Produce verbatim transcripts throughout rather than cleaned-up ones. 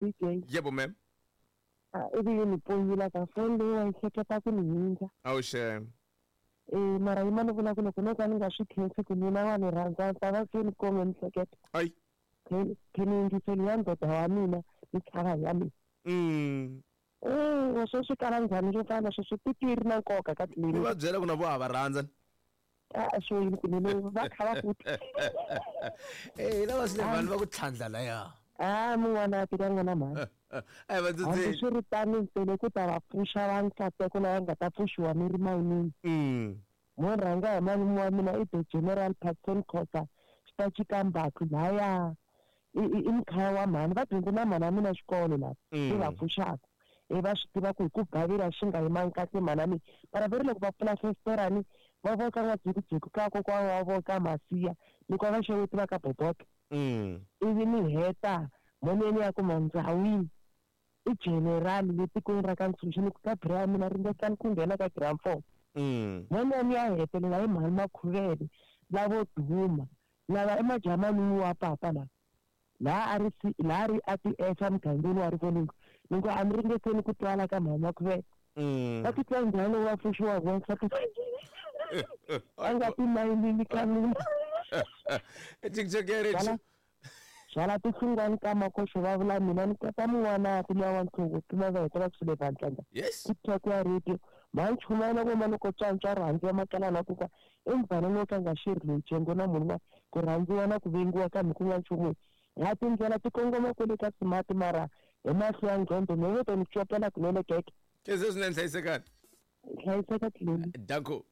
D J. Yebo ma'am. Ah, ivi yi ni pfunyile ka foni leyi wa yi hleketa ku ni hindza. Awu shame. Eh, mara yima ni vula ku loko no ka ni nga swi khensi ku mina wa ni rhandza ni ta va se ni kome miehleketo. Ayi. Khe ni yingiseli ya ndoda wa mina ni chava ya mina. Mm. Eh, wa swo swi kala njhani swo fana sweswo tiki ri na nkoka ka Ni tliliniki. va byela ku na vo ha va rhandza. A swo yini kunene va kha va futhi. Eh, lava swi le vanhu va ku tlhandla laya. Ah, mun'wana a tika n'wana mhani. Eh, va Hambi tsotsi. swi ri tano ntsena ku ta va pfuxa va nkateko lava nga ta pfuxiwa ni ri mayinini. Mm. Mo rhanga hi malume wa mina i the General Patson Khosa xitachi ka Mbatlu laya i i i mkhaya wa mhani va dyondze na mhani wa mina xikolo lava Mm. i va pfuxaka i va swi tiva ku hi ku gavela swi nga yimangi kahle mhani wa mina mara va ri loko va pfula festerani va voka n'wadzikudziku ka kokwana wa vo ka Masiya ni ku va xeweti va ka Boboka. Mm. Ivi ni heta moneni ya ku mandzawini i general le tikweni ra ka Ntshunxo ni ku ka bra ya mina ringetani ku nghena ka ground four. Mm. Moneni ya hetelela hi mhani Makhuvele lavo duma lava i majamanini wa papa lava laha a ri si laha ri a ti exa mugangeni wa Rivoningo ni ku a mi ringeteni ku twala ka mhani Makhuvele. Mm. Va titwa njhani loko va pfuxiwa hi wansati a nga timayinini ka mina. TikTok ya Byala byala tinhlungwani ka makoxo va vula mina ni kota mun'wana ku luya wa ntlhongo tlula va heta va ku swi le vandlanga. Yes. TikTok ya radio mhani chumayela vo mani ko tswantswa rhandziwa makalana ku ka i mubvana lowu ka nga xirhi loyi jengo na munhu wa ku rhandziwa na ku vengiwa kambe ku nga nchumu ha tindlela ti kongoma kwele ka smart mara hi mahlo ya ngqondo me vo to ni copela kunene keke. Khensa swinene hlayisekani. Hlayiseka tlileni. Danko.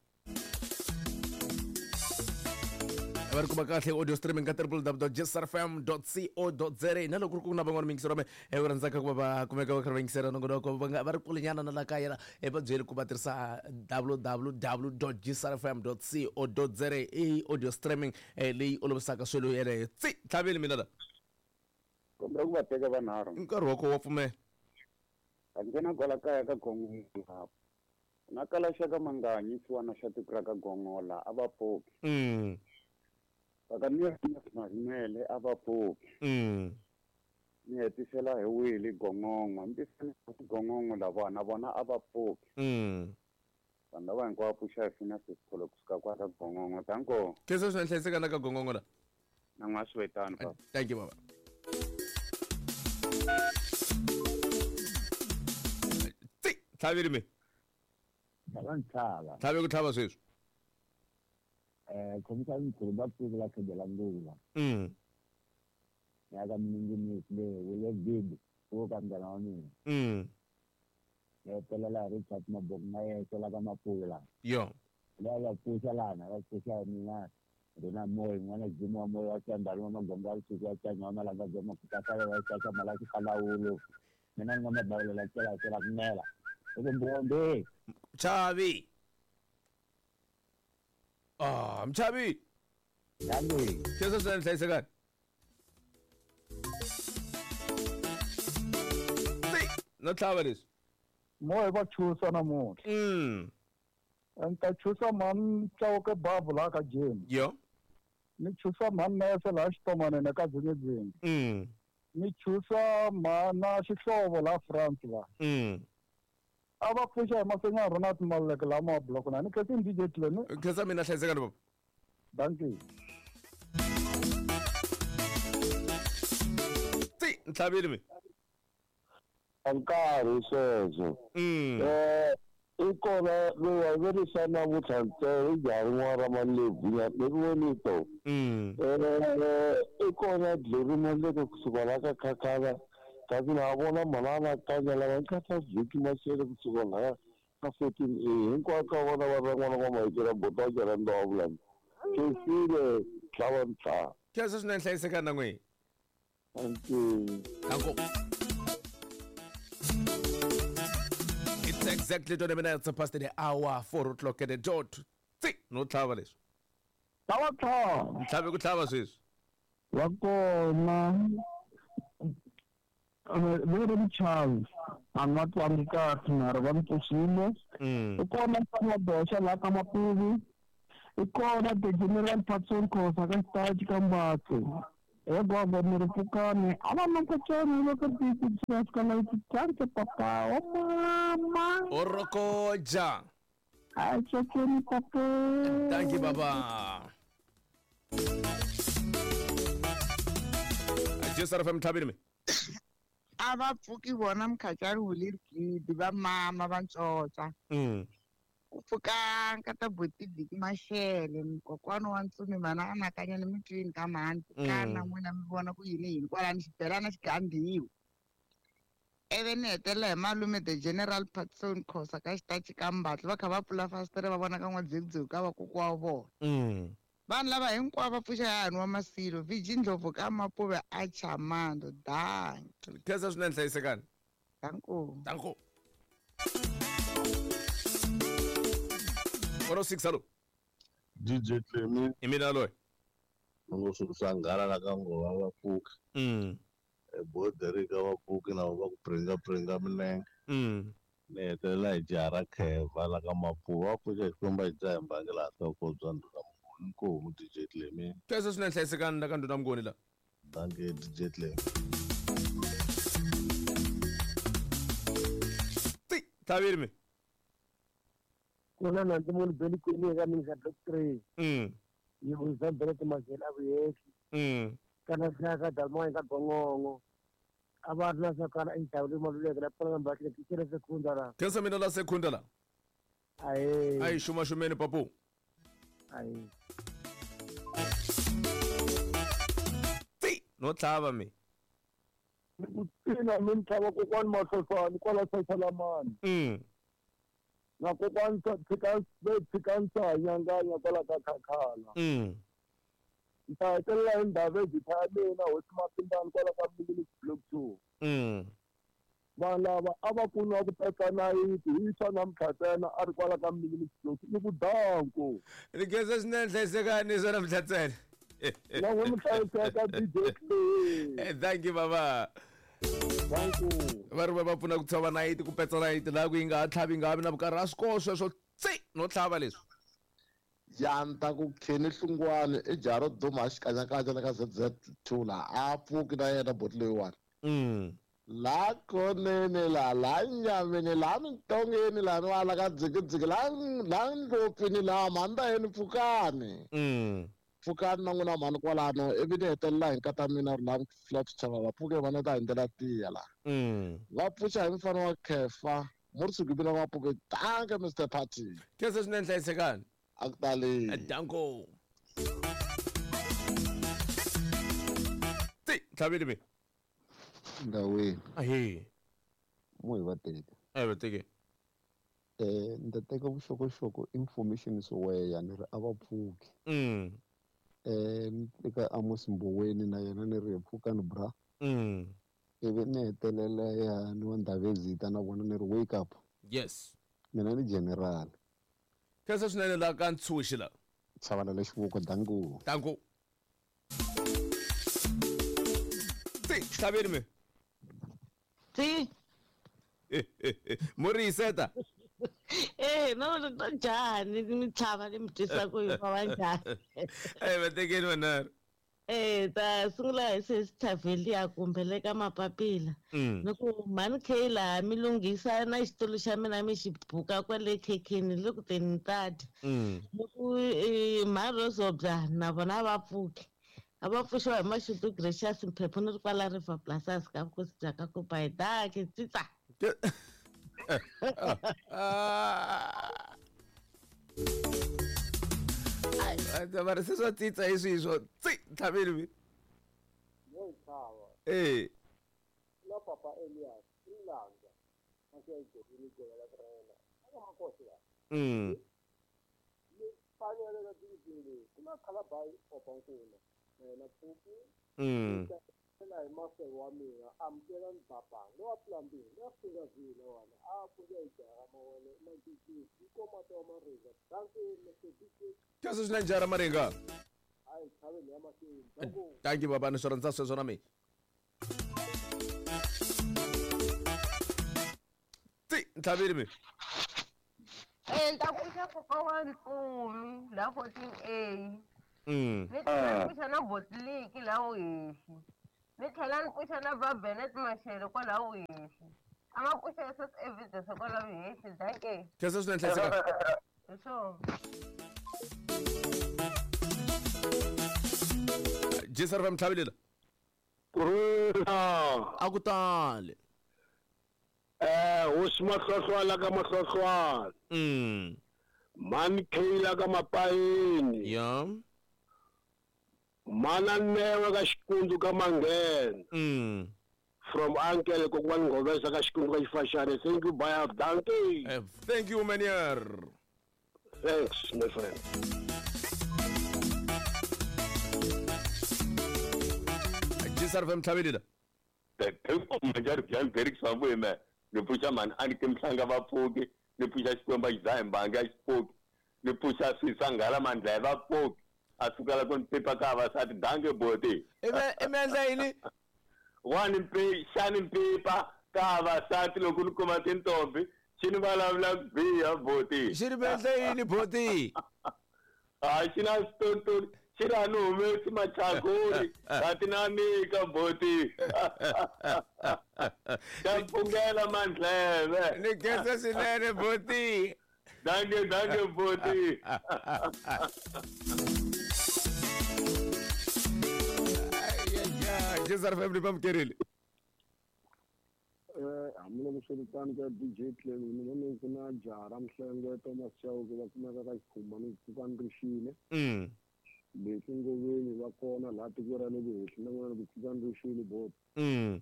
Va ri kuma kahle audio streaming ka w w w dot j s r f m dot co dot z a na loko ku ri ku na van'wana miyingiseri wa me eh, va rhandzaka ku va va kumeka va karhi va yingisela nongonoko va nga va ri kulenyana na la kaya la eh, va byeli ku va tirhisa w w w dot j s r f m dot co dot z a i audio streaming eh, leyi olovisaka swilo yeleyo. Tsi tlhaveli mina la. Kombela ku va teka vanharhu. Nkarhi wa koho wa pfumela. A nghena kwala kaya ka Gongola. Na kala xa ka Manganyi xiwana xa tiko ra ka Gongola a va pfuki. Mm. Va ka Marimele a va pfuki. Mm. Ni hetisela hi Willy Gongongo. Ni tisela Gongongo lava na vona a va pfuki. Mm. Vanhu lava hinkwavo pfuxa hi fina sesikholo kusuka kwa ka Gongongo. Danko. Khensa swinene hlayiseka na ka Gongongo la. Na n'wa swi papa. Thank you baba. Tsi tlhaveli me. Tlhava ntlhava. Tlhave ku tlhava sweswi. Eh, khomisa nkhulu va pfuki la khedela ngula. Mm. Ya ka minginisi le wele big wo ka mngana wa mina. Mm. Ya hetelela Richard Maboko na yexe la ka Mapula. Yo. La va pfuxa lana va pfuxa mina. Rona moya n'wana Jim wa moya wa Tsandala wa Magombo wa Suku wa Tsanya wa Malanga bya Makuta wa Tsaka Malaki Kalawulo. Mina ni nga mabawulela tsela tsela kumela. Eko mbombe. Mchavi. Ah, Mchavi. Yangi. Khensa swinene hlayisekani. Tsi no tlhava leswi. Moya va chusa namuntlha. Mm. Ni ta chusa mhani Chauke Babu laha ka Jim. Yo. Ni chusa mhani Nese laha Xitomanene ka Dzingidzingi. Mm. Ni chusa mhana Xihlovo laha France laha. Mm. A va pfuxa hi Masenya Ronald Maluleke laha ma block na ni khensa D J Tleni. Khensa mina hlayisekani baba. Dankie. Tsi ntlhaveli me. Nkarhi sweswo. Mm. Eh i kona loyi a verisa namuntlha ntsena i jaha rin'wana ra Malebvu ni ri vonito. Mm. Eh i kona Glory Maluleke kusuka la ka Khakhala kasi na vona manana kanya lava nkhatha vhiki Mashele kusuka la ka fourteen A hinkwako ka vona va rin'wana va mahikela bota jara ndo vulani. Khensile tlhava ntlhava. Khensa swinene hlayisekani na n'wina. Thank you. Danko. It's exactly twenty minutes past the hour, four o'clock at the dot. Tsi no tlhava leswi. Tlhava tlhava. Ntlhave ku tlhava sweswi. Wa kona. Ve ri Charles a nga twangi kahle mara va ni pfuxile. Mm. I kona Mfana Boxa laha ka Mapuvi. I kona the General Patson Khosa ka Xitachi ka Mbatlu. E gogo mi ri pfukani a va mankocani loko tititsikalaititante papa o mama Orokoja. A tsokeni papa. Thank you baba. J S R F M tlhabile me. A va pfuki vona mkhatsari hulerigidi va mama va ntsotsa. Mm. Ku pfuka nkata buti Viki Mashele mkokwani wa ntsumi mana anakanya ni mitwini ka mhani kana n'wina mi vona ku yini yini kwalani xibelana xi gandhiwa. Ivi ni hetelela hi malume the General Patson Khosa ka xitachi ka Mbatlo va kha va pfula fasitere va vona ka n'wadzekudzeko ka vakokwa wa vona. Mm. Vanhu lava hinkwavo va pfuxa yani wa Masilo Viji Ndlovu ka Mapuve a Chamando danki. Khensa swinene hlayisekani. Danko. Danko. one oh six hello. D J Clemi. I mina loyi. Ngo swi nghala la ka ngova va pfuka. Mm. E border ka va pfuki na va ku pringa pringa minenge. Mm. Ni hetelela hi jaha ra Kheva la ka Mapuva va pfuka Xikwembu hi dzaha mbangela nhloko bya ndhuna Mnguni nkomu D J Clemi. Khensa swinene hlayisekani la ka ndhuna Mnguni la. Thank you D J Clemi. Ti tlhavile me. Kuna na ndzi munhu beli kwini ka mina block three. Mm. Yi vuyisa mbele timazela vuyeki. Mm. Kana hlaka dalmoya ka gongongo. A va ri na swa kana indhawu maluleke la pfuna mbahle tichele sekhunda la. Khensa mina la sekhunda la. Ayi. Ayi xuma xumeni papu. Ayi. Ti no tlhava me. Ku tina mi tlhava kokwani Mahloswani kwala Sasalamani. Mm. Na kokwani tshika tshika nsanyanganya kwala ka Khakhala. Mm. Nta hetelela hi ndhawu ejitha ya mina hosi Mapindani kwala ka Minute Block two. Mm. Vanhu lava a va pfuniwa ku petsa nayiti hi swa namuntlha ntsena a ri kwala ka Minute Block ni ku danko. Ni khensa swinene hlayisekani swa namuntlha ntsena. Na n'wi mi hlayiseka D J Clemi. Thank you baba. Thank you. Va ri va va pfuna ku tshova nayiti ku petsa nayiti laha ku yi nga ha tlhavi yi nga ha vi na vukarhi a swi koho sweswo tsi no tlhava leswi. Yanta ku kheni hlungwani i jaha ro duma xikanyakanya la ka Z Z two la a pfuki na yena boti leyiwani. Mm. La konene la la nyameni la mintongeni la ni wala ka dzikidziki la la ndlopfini la mhanda yeni pfukani. Mm. Pfukani na n'wina mhani kwalano ivi ni hetelela hi nkata mina ri la Flaps Chava va pfuke vana ta hi ndlela tiya la. Mm. Va pfuxa hi mfana wa Khefa Murisuku va pfuke tanke Mister Party. Khensa swinene hlayisekani. Akutali. Danko. Ti tlhavile me. Ndawini. Ahe. Mo hi va teka. A va teke. Eh ni ta teka vuxokoxoko information swo ni ri a va pfuki. Mm. Eh ni teka Amos Mboweni na yena ni ri pfukani bra. Mm. Ivi ni hetelela ya ni wa Ndhavezita na vona ni ri wake up. Yes. Mina ni general. Khensa swinene la ka Ntshuxi la. Tshavala lexivuko danko. Danko. Ti tlhavile me. Ti. Mo ri yiseta. Eh no no njhani mi tlhava ni mi twisa ku yi va njhani. Eh va tekeni vanharhu. Eh ta sungula hi sesithavheliya kumbe le ka mapapila. Mm. Ni ku mhani K laha mi lunghisa na xitulu xa mina mi xi buka kwale khekheni le ku teni ni ta dya. Mm. Ni ku mhani Rozobya na vona va pfuki. A va pfuxiwa hi Mashudu Gracious Mphephu ni ri kwala River Plasas ka vukosi bya ka Kopai danki tsitsa. Ai va ri se swa tsitsa hi swihi swo tsi tlhavile mi. Yo tlhava. Eh. La papa Elias Ilanga. Mase gola la trena. Aka makosi la. Mm. Ni fanele ka dzikile. Kuna khalabai opankuna. Na pfuki. Mm. La hi maseko wa mina amukela Mbabanga lowa plumbing lowa fika vile wona a pfuka hi jaha mawele mancincisi yi komata wa Maringa danki Mister D J. Khensa swinene jaha ra Maringa. Hayi chaveni ya mahlweni danko. Thank you baba ni swi rhandza sweswo na mina. Ti tlhavile me. Eh nta pfuxa koka wa Ntsumi la fourteen A. Mm. Ni tlhela ni pfuxa na Botliki laha Vuhehli. Ni tlhela ni pfuxa na va Benet Mashele kwalaha Vuhehli. A va pfuxa S S Evidence kwalaha Vuhehli. Dankie. Khensa swinene Hlayisekani. Hi swona. G C R F M tlhavelela. Kurhula. A ku tali. Eh, hosi Mahlohlwala ka Mahlohlwala. Mm. Mani Kayla ka Mapayini. Ya. Mana Newe ka Xikundzu ka Manghena. Mm. From uncle kokwani Ngovesa ka Xikundzu ka Xifashane. Thank you, bye. Dankie. Eh, thank you, Manier. Thanks, my friend. G C R F M tlhavelela. Ni pfuxa mhani a ni ke mhlanga va pfuki, ni pfuxa Xikwembu a xi dzaha mbangi a xi pfuki, ni pfuxa swisa nghala mandla va pfuki, a sukela ku ni pipa ka vavasati dange boti. I mi endla yini? Wa ni mpi xa ni pipa ka vavasati loko ni kuma tintombi xi ni vulavula ku biha boti. Xi ni endla yini boti? A xi na switontori xi ri a ni humesi machakuri kati na nyika boti. Xa pfungela mandleve. Ni khensa swinene boti. Dankie, dankie boti. G C R F M ni vamukerile. Eh, hambiloko swi ri tano ka D J Clem, ni vone ku na jaha ra Mhlengwe Thomas Chauke va kumeka ka Xikhumba ni pfuka ni rixile. Mm. Leswi Ngoveni va kona laha tiko ra le Vuhehli na n'wana ku pfuka ni rixile bot. Mm.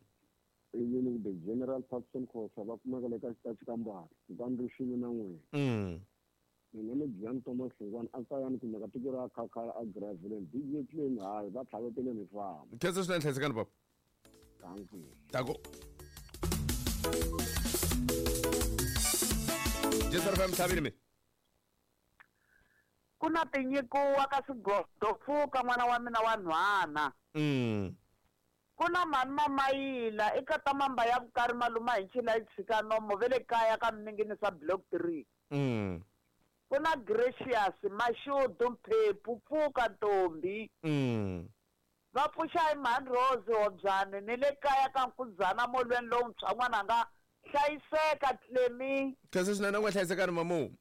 Ivi ni the General Patson Khosa va kumeka le ka xitachi ka Mbali, pfuka ni rixile na n'wina. Mm. Mina ni Jean Thomas Hlongwane a kaya ni kumeka tiko ra Khakhala a Graveland. D J Clem hayi va tlhavetele ni famba. Khensa swinene Hlayisekani baba. Thank you. Tako. G C R F M tlhavile mi. Ku na tinyikiwa ka swigodo pfuka n'wana wa mina wa nhwana. Mm. Ku na mhani Mamayila i kata mamba ya vukari maluma hi ncila yi tshika nomo ve le kaya ka Mninginisa block three. Mm. Ku na Gracious Mashudu Mphephu pfuka ntombi. Mm. Va pfuxa hi mhani Rose Hobyane ni le kaya ka Nkudzana molweni lowuntshwa n'wananga hlayiseka Clemi. Khensa swinene u nga hlayisekani mamu.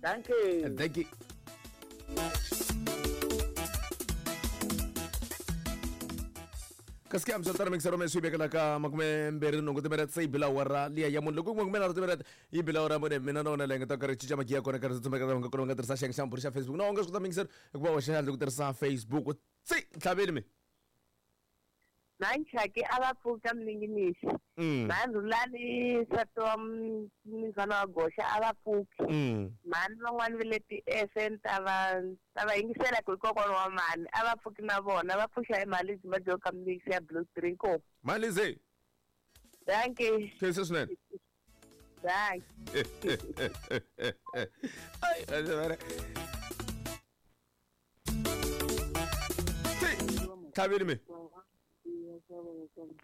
Thank you. Thank you. Kasi ke amsatara mixero me swi vekela ka makume mbirhi nhungu timinete se yi bila awara liya ya munhu loko makume nharhu timinete yi bila awara mune mina na wona leyi nga ta karhi cinca magiya kona karhi tsutsumeka nga kona nga tirhisa xiyenge xa mbhuri xa Facebook na u nga swi kota mixero hikuva wa xandla ku tirhisa Facebook tsi tlhaveli mi Nanchaki a va pfuka Mninginisi. Mhani Rhulani nsati wa Mnumzana wa Goxa a va pfuki. Mhani van'wani va le ti-F N ta va ta va yingisela ku i kokwana wa mhani a va pfuki na vona va pfuxa hi mali lebyi va ka Mninginisi ya Blue Three inkomu. Malize. Dankie. Khensa swinene. Dankie. Ai, ai, tlhaveli mi.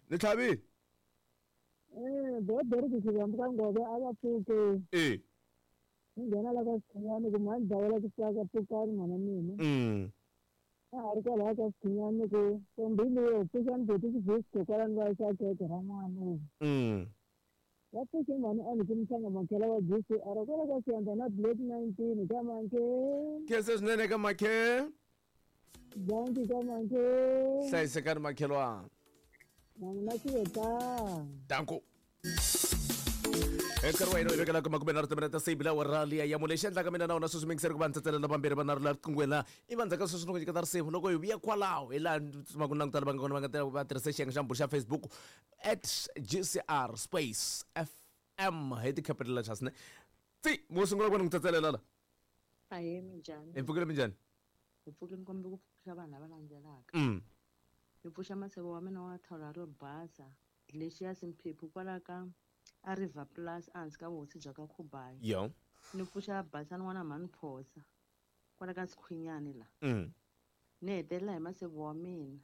Ni tlhavile. Eh, bodori ku fika ka Ngove a va pfuke. Eh. Ni nghena la ka Xikhinyani ku mhani dawela ku tsaka pfukani n'wana mina. Mm. A ha ri kwalaya ka Xikhinyani ku ntombi leyo pfuxani boti xivhisko kwalani va yisa khekhe ra n'wana. Mm. Va pfuxe mhani a ni ku mhlanga makhela wa G C R kwala ka Xiyandza na Black nineteen ka Mankhe. Khensa swinene ka Makhe. Dankie ka Mankhe. Hlayisekani makhelwana. Na xiveta. Danko. Nkarhi wa hina wu vekela ka makume nharhu timinete se yi bila awara liya ya mune lexi endlaka mina na wona sweswi mingiseri ku va ni tsetselela vambirhi va nharhu la riqinghweni laha i va ndzhaku ka sweswi ni ku nyiketa risimu loko hi vuya kwalaho hi laha ni tsumaka langutana va nga kona va nga va tirhisa xiyenge xa mbhuri xa Facebook at G C R space F M hi ti-capital letters ne tsi mo sungula ku va ni n'wi tsetselela la. Ahee, minjhani? Hi pfukile minjhani? Hi pfukile ni kombela ku pfuxa vanhu lava landzelaka. Mm. Ni pfuxa maseve wa mina wa thawula ro basa Glaciers Mphephu kwala ka a River Plus ehansi ka vuhosi bya ka Khubayi. Yo. Ni pfuxa basani n'wana mhani Phosa kwala ka Sikhwinyani la. Mm. Ni hetelela hi maseve wa mina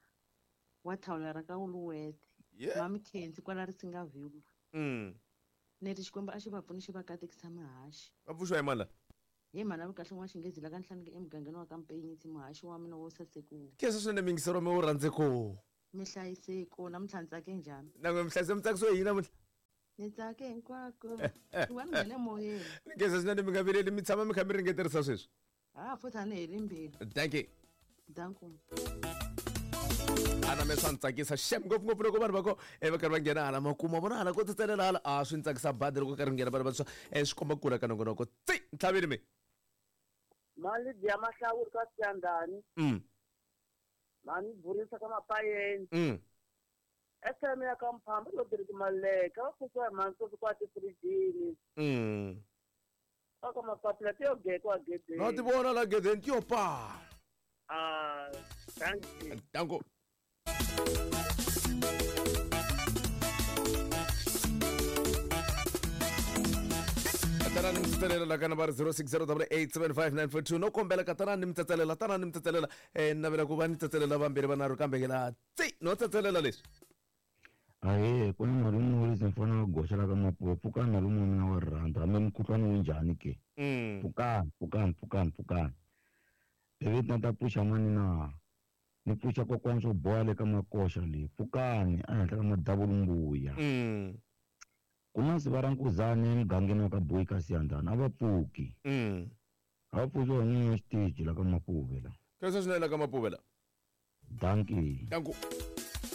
wa thawula ra ka Wuluwete. Yeah. Mami Khensi kwala Risingaville. Mm. Ni ri Xikwembu a xi va pfuni xi va katekisa mahaxi. Va pfuxiwa hi mani la? Hi mhana vukahle n'wa xinghezi la ka nhlanike emugangeni wa ka Mpenyitsi muhaxi wa mina wo sasekuwa. Khensa swinene mingisero mi wu rhandze ku. Mi hlayiseko namuntlha ni tsake njhani? Nangwe mi hlayise mi tsakisiwe hi yini namuntlha? Ni tsake hinkwako. Ku va ni nghene moyeni. Khensa swinene mi nga vileli mi tshama mi kha mi ringeterisa sweswi. Ha futhi a ni heli mbilu. Thank you. Danko. Ana me swa ni tsakisa xem ngopfungopfu loko vanhu va ko e va karhi va nghena hala makuma vona hala ko tsetselela hala a swi ni tsakisa badi loko karhi nghena vanhu vantshwa e swi komba kula ka nongonoko tsi ntlhaveni mi mali dya mahlawuri ka siyandani mm mani burisa ka mapayeni mm S M ya ka mphamba lo diriki maleka va pfukiwa hi mani kwa tifirijini mm ka mapapila ti yo gekwa gedeni no ti vona la gedeni ti yo pa ah thank you danko. Tanani mi tsatselela la ka nambara zero six zero double eight seven five nine four two no kombela ka tanani mi tsatselela tanani mi tsatselela eh navela ku va ni tsatselela vambirhi vanharhu kambe ke la tsi no tsatselela leswi. Ahee ku na malume wo lezi mfana wa goxa la ka Mapuwa pfukani malume wa mina wa rirhandzu hambi mukhuhlwani wu njhani ke pfukani pfukani pfukani pfukani ivi na ta pfuxa mani na ni pfuxa kokwani swo boha le ka makoxa leyi pfukani ehenhla ka madavulumbuya. Ku na siva ra nkuzane emugangeni wa ka Boyi ka Siyandhani a va pfuki. A va pfuki wa n'wini wa xiteji la ka Mapuve la. Khensa swinene la ka Mapuve la. Dankie. Danko.